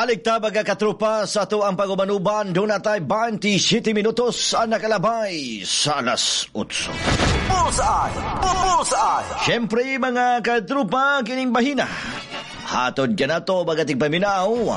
Balik ta, mga katropa, sa atoang pag-uban-uban. Duna tay 27 minutos ang nakalabay sa alas 8. Bullseye! Bullseye! Siyempre, mga katropa, kining bahina hatod ka nato, mga tigpaminaw,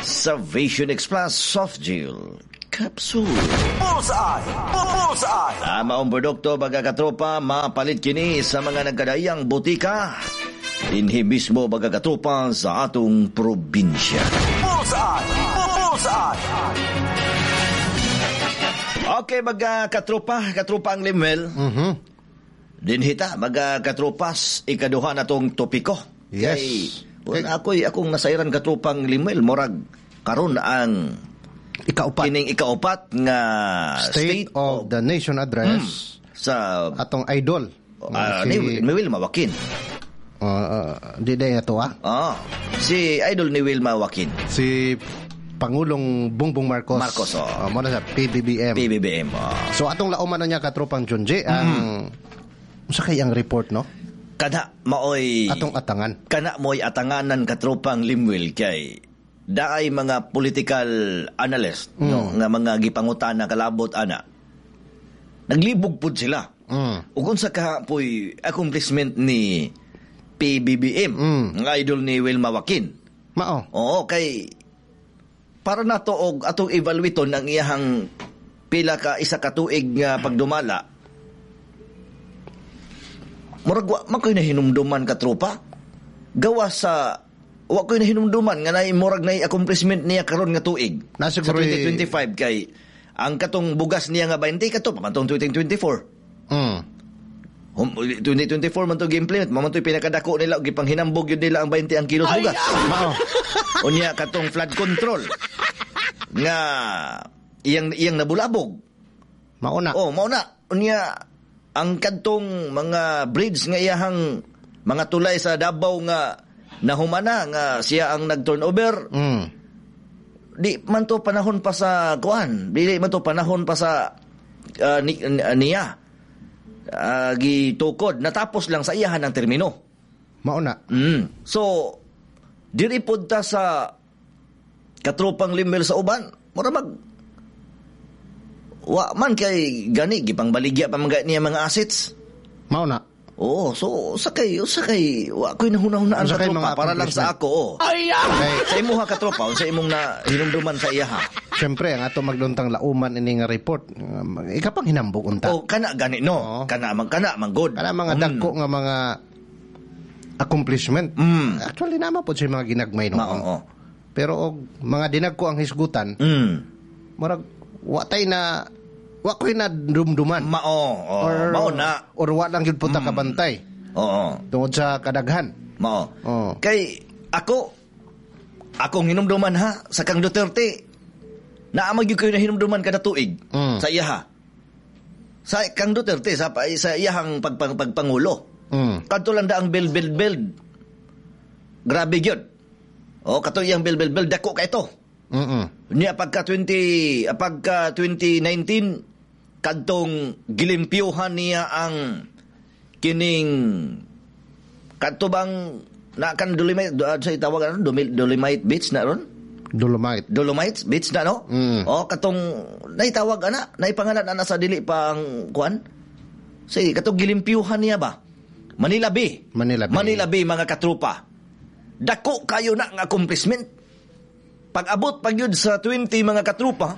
sa Vision X Plus Soft Gel Capsule. Bullseye! Bullseye! Tama ang produkto, mga katropa, mapalit kini sa mga nagkadayang butika dinhi mismo, mga katropa, sa atong probinsya. Bullseye! Bullseye! Okay, mga katropa, katropa ang Limuel. Dinhi ta, mga katropas, ikaduha na tong topiko. Yes. Kay, kung ako'y akong nasayran, katropang Limuel, murag karon ang Ikaupat. Kining ikaupat nga State of the Nation Address. Sa atong idol. Ni Wilma Joaquin. Di day ato ah. Ah, si idol ni Wilma Joaquin. Si Pangulong Bongbong Marcos. Marcos, oh. Mo na sa PBBM. PBBM. Oh. So atong lauman na niya, katropang Junji, ang unsa kay ang report, no? Kana maoy atong atangan. Kana mo'y atanganan, katropang Limwil, kay daay mga political analyst, no, nga mga gipangutana kalabot ana. Naglibog pud sila. Ug unsa ka po'y accomplishment ni PBBM, nga idol ni Wilma Joaquin? Mao. Oo, kay para nato og atong evaluaton ang iyahang pila ka isa ka tuig nga pagdumala. Murag wa man ko'y nahinumduman, katropa. Gawa sa wa ko'y nahinumduman nga naay murag naay accomplishment niya karon nga tuig. Na sa siguro 2025, kay ang katong bugas niya nga 20 kato pa man tong 2024. 2024 man to gi-implement, mao man to'y pinakadako nila og gipanghinambog yun nila ang 20 ang kilos bugas. Mao. Unya katong flood control nga iyang iyang nabulabog. Mao na. Oh, mao na. Unya ang kadtong mga bridge nga iyahang mga tulay sa Davao nga nahumana nga siya ang nag-turnover. Di man to panahon pa sa kuan, dili man to panahon pa sa niya. Gitukod natapos lang sa iyahan ang termino. Mao na. So diri pod ta sa katropang Limel sa uban, mura mag wa man kay gani gipangbaligya pa man gani niya mga assets. Mao na. Oo, so sa kay wa ko'y nahuna-hunaan, Sa kay katropa, mga para lang sa accomplishment. ako. Oh. Kay, Sa imuha, katropa, unsa imong na hinumduman sa iyaha? Siyempre, ang ato magduntang lauman ini nga report, ikapang hinambog unta. Oh, kana gani no. Oo. Kana man good. Kana mga dagko nga mga accomplishment. Actually, nama po siya mga ginagmay noon. Mao, oo. Pero og mga dinagko ang hisgutan, murag wa tay na wa ko'y nadumduman. Mao, oh, mao na. Or wa lang gyud po ta kabantay tungod sa kadaghan. Mao. Oo. Kay ako akong hinumduman ha sa kang Duterte. Naa man gyud kayo na hinumduman kada tuig sa iyaha. Sa kang Duterte sa iyahang pagpangulo. Kadto lang da ang build build build. Grabe gyud. Oh, kato iyang build build build dako kay ito. Niya pagka 2019 kadtong gilimpyuhan niya ang kining kadto bang na kan Dolomite sa tawag ano Dolomite Beach na ron? Dolomite. Dolomite Beach na no? Oh, katong naitawag ana, naipangalan ana sa dili pa ang kuan. Sige, katong gilimpyuhan niya ba? Manila Bay. Manila Bay. Manila Bay, mga katropa. Dako kayo na ang accomplishment. Pag-abot pag yun sa 20, mga katropa,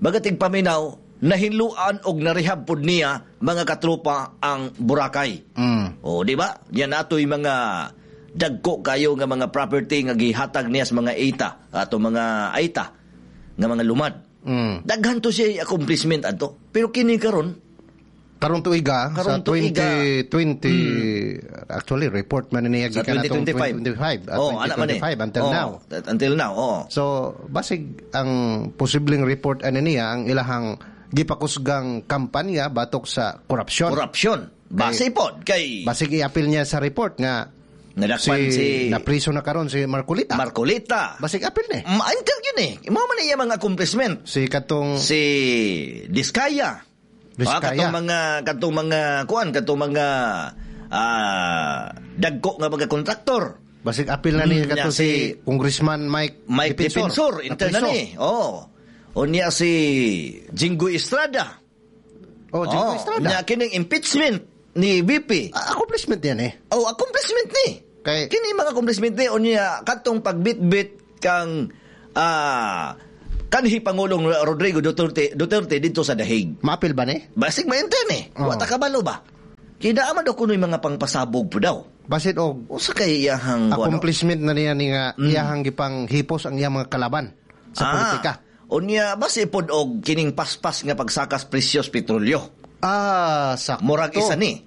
bagating paminaw, nahinluan og narehab pod niya, mga katropa, ang Boracay. O, di ba? Yan atoy mga dagko kayo nga mga property nga gihatag niya sa mga Aeta, ato mga Aeta nga mga lumad. Daghan to siya accomplishment adto. Pero kini karon Karong tuiga Karong sa tuiga. 2020, actually report man niya Sa gikan atong 2025. 2025, Oh, ana man eh. 2025 until Oh, now. Until now, oh. So basig ang posibleng report ani niya ang ilahang gipakusgang kampanya batok sa korupsyon. Korupsyon. Base pod kay Basig iapil niya sa report nga nadakpan si napriso na karon si Marcoleta. Marcoleta. Basig apil ni. Until yun eh. Mao man iya mga accomplishment. Si katong Si Diskaya. Diskaya. Ah, katong mga kuan, katong mga dagko nga mga kontraktor. Basig apil na niya kato si Congressman Mike Mike Defensor, inter na ni. Oh. Unya si Jinggoy Estrada. Oh, Jinggoy Estrada. Unya kining impeachment ni VP. Accomplishment yan eh. Oh, accomplishment ni. Kay kini mga accomplishment ni unya katong pagbitbit kang kanhi Pangulong Rodrigo Duterte dito sa Dahig. Maapil ba ni? Basig mainter ni. Oh. Wa ta kabalo ba? Kaya man daw kuno'y mga pangpasabog po daw. Basit og usa kay iyahang accomplishment na niya ni nga iyahang gipang hipos ang iyang mga kalaban sa politika. Unya basi pod og kining paspas nga pagsakas presyos petrolyo. Ah, sakto. Murag isa ni.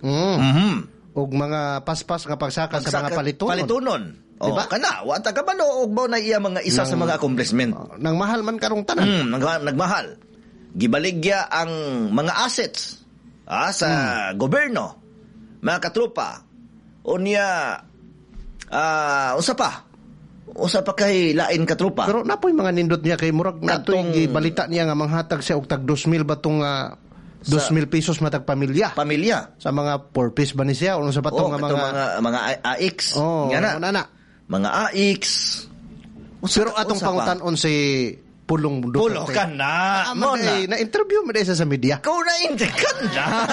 Mm. Og mga paspas nga pagsaka sa mga palitunon. Palitunon. Oh, Diba? Kana, wa ta kabalo og mao na iya mga isa sa mga accomplishment. Nang mahal man karong tanan. Nagmahal. Gibaligya ang mga assets sa gobyerno, mga katropa. Unya usa pa. Usa pa kay lain katropa. Pero napoy mga nindot niya kay murag natoy gibalita niya nga manghatag siya og tag 2,000 ba tong 2,000 pesos matag pamilya. Pamilya. Sa mga four piece ba ni siya o sa patong nga mga AX. Oh, nga na. Mga AX. Pero atong pangutan-on si Pulong Duterte. Pulong ka na. Mo na. Na-interview mo sa media. Kung na-interview ka na.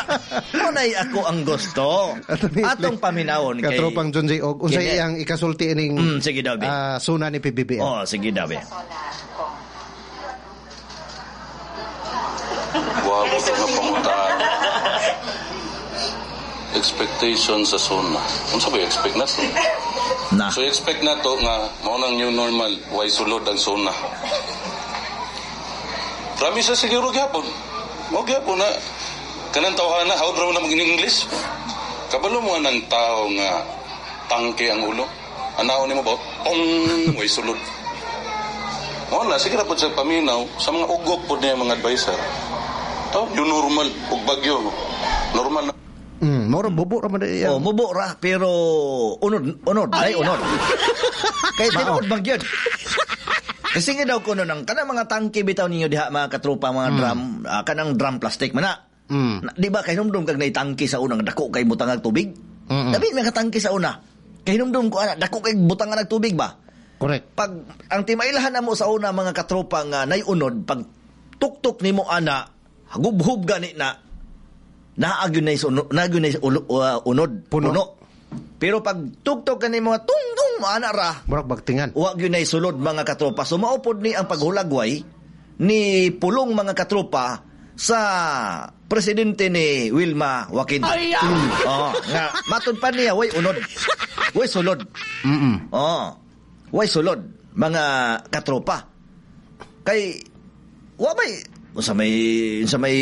Mo na ako ang gusto. Atong paminawon kay Katropang John J. Og unsay iyang ikasulti ining sige daw, suna ni PBBM. Oh, sige daw. Guwapo nga pangutan. Expectation sa SONA. Unsa ba expect na to? Na. So expect na to nga mao nang new normal, way sulod ang SONA. Promise sa siguro gyapon. Mo gyapon na kanang tawhana how draw na mag English. Kabalo mo nang tao nga tangke ang ulo. Anaon nimo ba? Tong way sulod. Mo na sige ra pud sa paminaw sa mga ugok pud niya mga advisor. To new normal ug bagyo. Normal na. Moro bubo ra man diyan. Oh, mubo ra pero unod, ay unod. Kay tinuod bang gyud. Kasi nga daw kuno nang kanang mga tangke bitaw ninyo diha mga katropa mga drum, kanang drum plastic man na. Di ba kay hinumdum kag naitangke sa unang dako kay butangag tubig? Dabi nga tangke sa una. Kay hinumdum ko ana dako kay butangan og tubig ba? Correct. Pag ang timailahan namo sa una mga katropa nga nay unod pag tuktok nimo ana hagubhub gani na naagyon na unod puno. Pero pag tuktok kani mga tungtong ana ra murag bagtingan. Wa gyud nay sulod mga katropa. So maupod ni ang paghulagway ni Pulong mga katropa sa presidente ni Wilma Joaquin. Oh, nga matud pa niya way unod. Way sulod. Oh. Way sulod mga katropa. Kay wa may sa may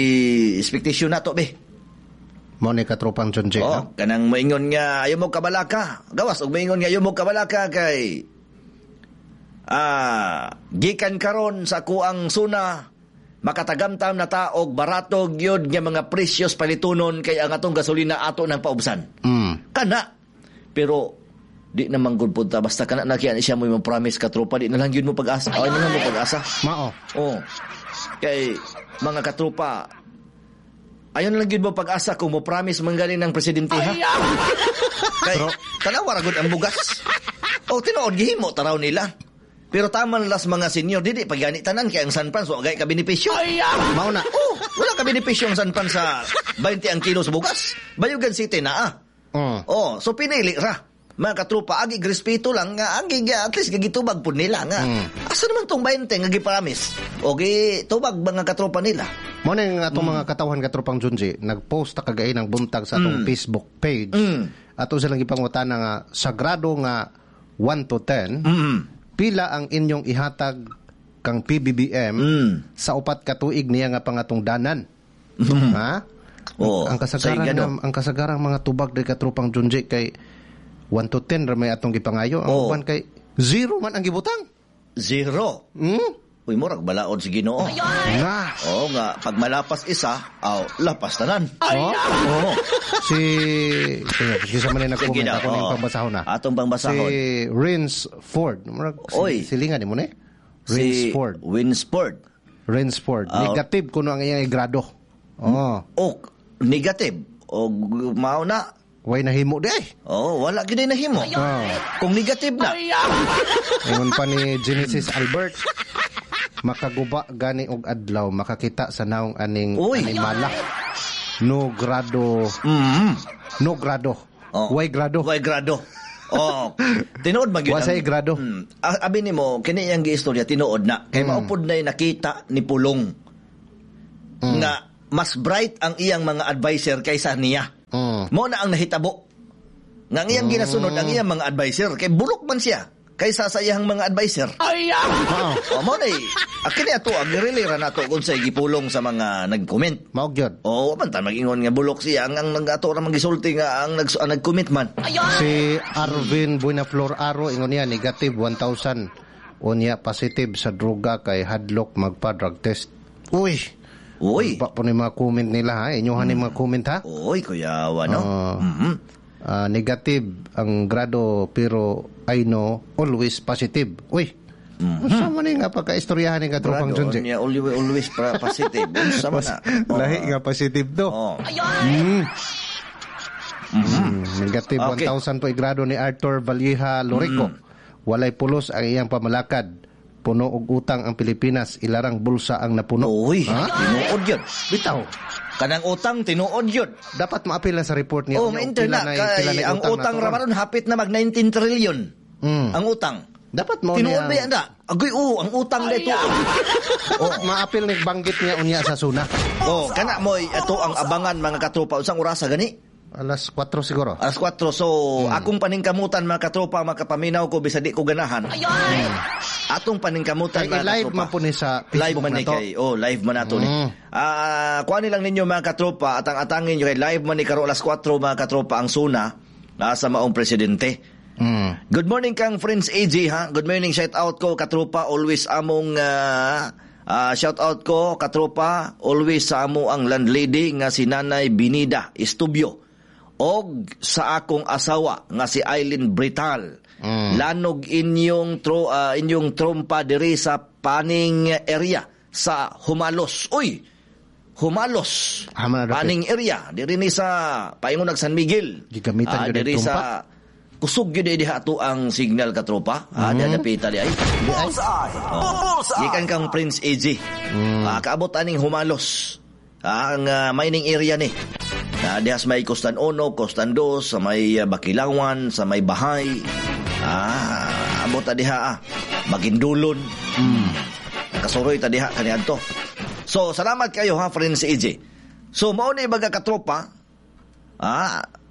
expectation nato be. Mo ni katropang John J. Oh, kanang moingon nga ayaw mo kabalaka. Gawas og moingon nga ayaw mo kabalaka kay gikan karon sa kuang suna makatagamtam na ta og barato gyud nga mga presyos palitunon kay ang atong gasolina ato nang paubsan. Kana pero di naman gud punta basta kana na kiyan siya mo imong promise katropa di na lang gyud mo pag-asa. Ay na lang mo pag-asa. Mao. Oh. Kay mga katropa ayon lang gyud mo pag-asa kung mo promise manggaling ng presidente ha. Kay tanawa ra gud ang bugas. O tinuod gihimo taraw nila. Pero taman las mga senior dili pag gani tanan kay ang San Fran so agay ka benepisyo. Mao na. Oh, wala ka benepisyo ang San Fran sa 20 ang kilo sa bugas. Bayugan City na ah. Oh, so pinili ra. Mga katropa, agi respeto lang nga agi at least gitubag pud nila nga. Asa naman tong 20 nga gipromise? O gitubag mga katropa nila. Mo na yung atong mga katawhan katropang Junji, nagpost ta kagay ng buntag sa atong Facebook page. Ato silang gipangutana nga sa grado nga 1 to 10, pila ang inyong ihatag kang PBBM sa 4 ka tuig niya nga pangatungdanan. Ha? Oh, ang kasagaran ang kasagarang mga tubag di katropang Junji kay 1 to 10 ra may atong gipangayo. Ang uban kay 0 man ang gibutang. 0. Uy, murag balaod si Ginoo. Nga. Oo nga, pag malapas isa, aw, lapas tanan. Oh. Oo. Si sige, sa man Sige nag-comment na, ako ning oo. pangbasahon na. Atong pangbasahon. Si Rins Ford. Murag Oy. silingan nimo ni. Rins Si Ford. Winsford. Rins Ford. Negative kuno ang iyang grado. Oh. Oh, negative. O mao na. Way nahimo di ay. Oh, wala gyud nahimo. Oh. Kung negative na. Ingon pa ni Genesis Albert, makaguba gani og adlaw makakita sa naong aning animala. No grado. No grado. Oh. Way grado. Way grado. Oh, tinuod man gyud. Wa say grado. Abi nimo kini iyang giistorya tinuod na. Kay maupod na nakita ni Pulong nga mas bright ang iyang mga advisor kaysa niya. Mo na ang nahitabo. Nga ang iyang ginasunod ang iyang mga advisor kay bulok man siya kaysa sa iyang mga advisor. Ay! Oh, mo na kini ato ang relay ra nato kung say gipulong sa mga nag-comment. Mao gyud. Oh, man ta mag-ingon nga bulok siya ang ato ra magisulti nga ang nag-comment man. Si Arvin Buenaflor Aro ingon niya negative 1,000 unya positive sa droga kay hadlok magpa-drug test. Uy. Uy. Pa po ni mga comment nila ha. Inyohan ni mga comment ha. Uy, kuyawa no. Negative ang grado pero I know always positive. Uy. Unsa man ni nga pagkaistoryahan ni katropang Junji? Niya always positive. Unsa man na? Lahi nga positive do. Oh. Negative Okay. 1,000 po grado ni Arthur Valleja Lorico. Walay pulos ang iyang pamalakad. Puno og utang ang Pilipinas, ilarang bulsa ang napuno. Uy, Ha? tinuod yun. Bitaw. Kanang utang, tinuod yun. Dapat maapil na sa report niya. Oh, ma-enter na. Kay, ang utang ra maron hapit na mag 19 trillion. Ang utang. Dapat mo tinuod niya. ba yan na? Agoy, oo, ang utang na ito. Oh, maapil ni banggit niya unya sa suna. Oh, kana mo ato ang abangan mga katropa. Unsang orasa gani? Alas 4 siguro. Alas 4. So, akong paningkamutan mga katropa, makapaminaw ko bisag di ko ganahan. Atong paningkamutan Kay mga live katropa. man po ni sa Facebook live man na ni to. kay. Oh, live man nato ni. Kuha nilang ninyo mga katropa at ang atangin nyo kay live man ni karon alas 4 mga katropa ang suna sa maong presidente. Good morning kang Friends AJ ha. Good morning, shout out ko katropa always among shout out ko katropa always sa amo ang landlady nga si Nanay Binida Estubio og sa akong asawa nga si Eileen Brital. Lanog inyong inyong trompa diri sa Paning area sa Humalos. Uy, Humalos. Paning area diri ni sa paingon nag San Miguel. Gigamitan gyud Diri ang trompa. sa kusog gyud diha ato ang signal katropa. Dapita di ay. Bullseye! Bullseye! Gikan kang Prince AJ. Kaabot aning Humalos. Ang mining area ni. Diha sa may Costan 1, Costan 2, sa may Bakilawan, sa may Bahay. Abot ta diha Magindulon. Nakasuroy ta diha kaniadto. So, salamat kayo ha, Prince AJ. So, mao ni baga katropa.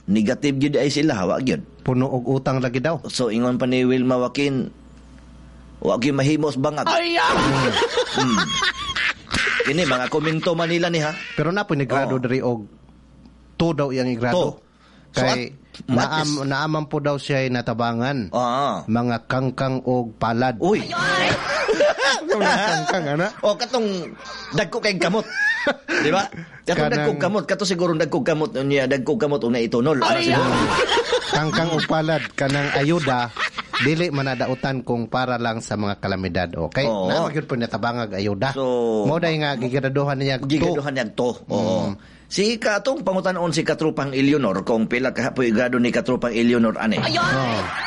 Negative gyud ay sila, wa gyud. Puno og utang lagi daw. So, ingon pa ni Wilma Joaquin, wa gyud mahimos bangag. Kini mga komento Manila ni ha. Pero na po ni grado diri og 2 daw iyang igrado. So, Kay naaman po daw siya ay natabangan. Mga kangkang og palad. Uy. Kangkang ana. O katong dagko kay kamot. Di ba? Katong dagko kamot, kato siguro dagko kamot niya, dagko kamot una itunol. Ana siguro. Kangkang og palad kanang ayuda dili manadautan kung para lang sa mga kalamidad. Okay? Oo. Naa gyud po natabangag ayuda. So, mo day nga gigraduhan niya to. Gigraduhan niya to. Oo. Si katong pangutanon si Katropang Eleonor kung pila ka po grado ni Katropang Eleonor ane.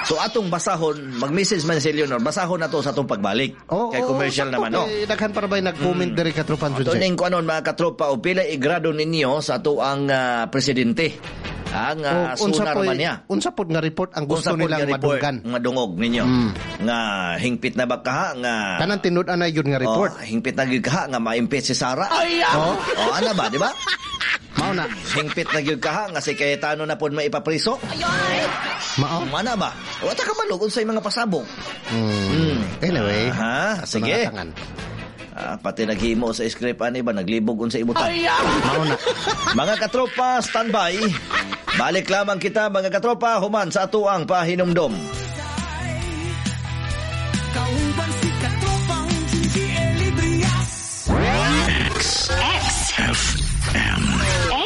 So atong basahon, mag-message man si Eleonor, basahon na to sa atong pagbalik. Oo, kay commercial sakto naman no. kay Daghan para ba'y nag-comment diri Katropang Ato Junjay. ning kuanon mga katropa o pila igrado ninyo sa ato ang presidente. Ang O, unsa sunar man niya. Unsa pod nga report ang gusto Unsa pod nilang nga report madunggan? Madungog ninyo. Nga hingpit na ba kaha nga Kanang tinud-an na yun nga report. Oh, hingpit na gyud kaha nga ma-impeach si Sara. Oh. Oh, ana ba, di ba? Mao na. Hingpit na gyud kaha nga si Cayetano na pod maipapriso. Mao. Mana ba? Wa ta kabalo unsay mga pasabog. Anyway, Ha, ato sige. na katangan. Pati naghimo sa script ani ba naglibog unsa ibutan. Mao na. Mga katropa, standby. Balik lamang kita mga katropa human sa atuang pahinumdom. Kauban si Katropang Junji Elibrias. X X F M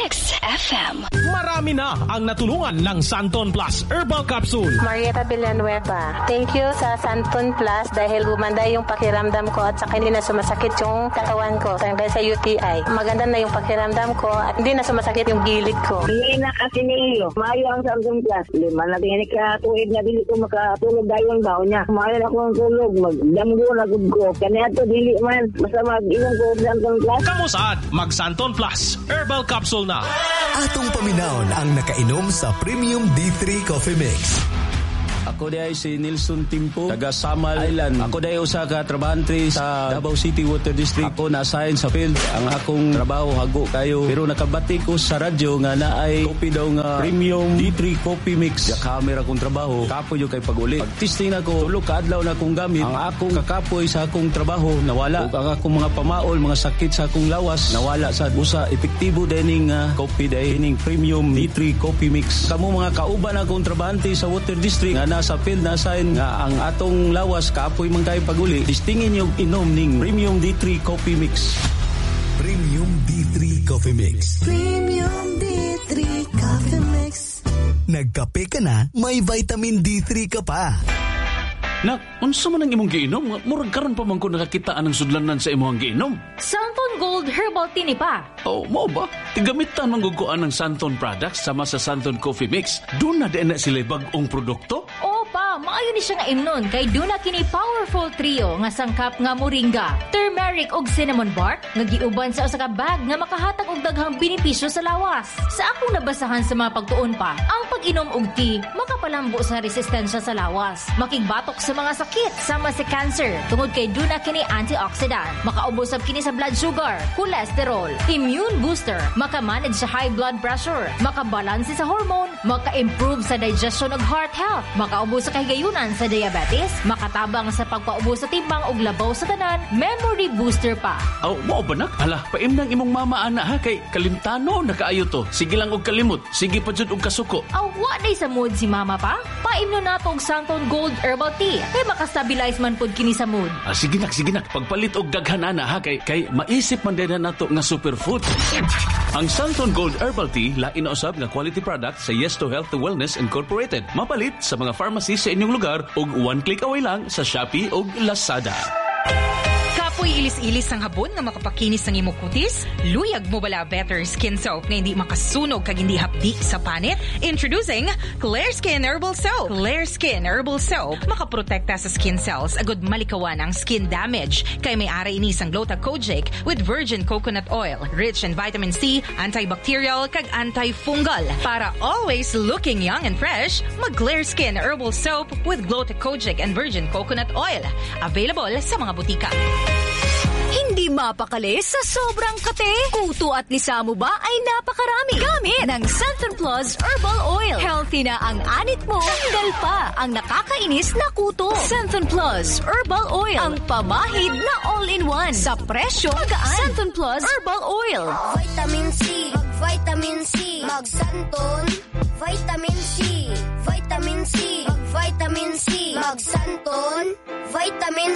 XFM. FM. Marami na ang natulungan ng Santon Plus Herbal Capsule. Marietta Villanueva. Thank you sa Santon Plus dahil gumanda yung pakiramdam ko at saka hindi na sumasakit yung katawan ko. Dahil sa UTI. Maganda na yung pakiramdam ko at hindi na sumasakit yung gilid ko. Hindi na kasi niyo. Maayo ang Samsung Plus. 5 na tingin ka tuig na dili ko makatulog dayon ba niya. Maayo na akong tulog, magdamgo na gud ko. Kaniadto dili man basta mag-inom ko Samsung Plus. Kamusad, mag Santon Plus Herbal Capsule na. Atong paminawon ang nakainom sa Premium D3 Coffee Mix. Ako diay si Nilson Timpo, taga Samal Island. Ako diay usa ka trabahante sa Davao City Water District. Ako na-assign sa field. Ang akong trabaho hago kayo. Pero nakabati ko sa radyo nga naay kopi daw nga Premium D3 Coffee Mix. Ya camera akong trabaho. Kapoy yung kay pag-uli. Pag-testing ako, tulo ka adlaw na akong gamit. Ang akong kakapoy sa akong trabaho nawala. Ug ang akong mga pamaol, mga sakit sa akong lawas nawala sa usa epektibo dining kopi diay ining Premium D3 Coffee Mix. Kamo mga kauban akong trabahante sa Water District nga nasa field na sign nga ang atong lawas kapoy man kayo paguli, testingin yung inom ning Premium D3 Coffee Mix. Premium D3 Coffee Mix. Premium D3 Coffee Mix. Nagkape ka na, may vitamin D3 ka pa. Nak, unsa man ang imong giinom? Murag karon pa man ko nakakita anang sudlanan sa imong giinom. Santon Gold Herbal Tea ni pa. Oh, mao ba? Tigamitan man gud ko anang Santon products sama sa Santon Coffee Mix. Doon na din na sila bag-ong produkto. Oo pa, maayo ni siya nga imnon kay duna kini powerful trio nga sangkap nga moringa, turmeric ug cinnamon bark nga giuban sa usa ka bag nga makahatag og daghang benepisyo sa lawas. Sa akong nabasahan sa mga pagtuon pa, ang pag-inom og tea makapalambo sa resistensya sa lawas, makigbatok sa mga sakit sama sa cancer tungod kay duna kini antioxidant, makaubos sab kini sa blood sugar, cholesterol, immune booster, makamanage sa high blood pressure, makabalanse sa hormone, maka-improve sa digestion ug heart health, makaubos sa kahigayunan sa diabetes, makatabang sa pagpaubos sa timbang ug labaw sa tanan, memory booster pa. Aw, mao ba nak? Hala, paimnang imong mama ana ha kay kalimtano na kaayo to. Sige lang og kalimot, sige pa jud og kasuko. Aw, wa day sa mood si mama pa. Paimno nato og Santon Gold Herbal Tea kay makastabilize man pod kini sa mood. Ah, sige nak, sige nak. Pagpalit og daghan ana ha kay kay maisip man din nato nga superfood. Ang Santon Gold Herbal Tea lain na usab nga quality product sa Yes to Health Wellness Incorporated. Mapalit sa mga pharmacy sa inyong lugar ug one click away lang sa Shopee ug Lazada. Kapoy ilis-ilis ang habon nga makapakinis ang imong kutis? Luyag mo bala better skin soap nga hindi makasunog kag hindi hapdi sa panit? Introducing Clear Skin Herbal Soap. Clear Skin Herbal Soap makaprotekta sa skin cells agud malikawan ang skin damage. Kay may ari ini sang Glota Kojic with virgin coconut oil, rich in vitamin C, antibacterial kag antifungal. Para always looking young and fresh, mag Clear Skin Herbal Soap with Glota Kojic and virgin coconut oil. Available sa mga butika. Hindi mapakali sa sobrang kate. Kuto at lisa mo ba ay napakarami. Gamit ng Santon Plus Herbal Oil. Healthy na ang anit mo. Tanggal pa ang nakakainis na kuto. Santon Plus Herbal Oil. Ang pamahid na all-in-one. Sa presyo, magaan. Santon Plus Herbal Oil. Vitamin C, mag-vitamin C, mag-Santon, vitamin C, vitamin C, mag-vitamin C, mag-Santon, vitamin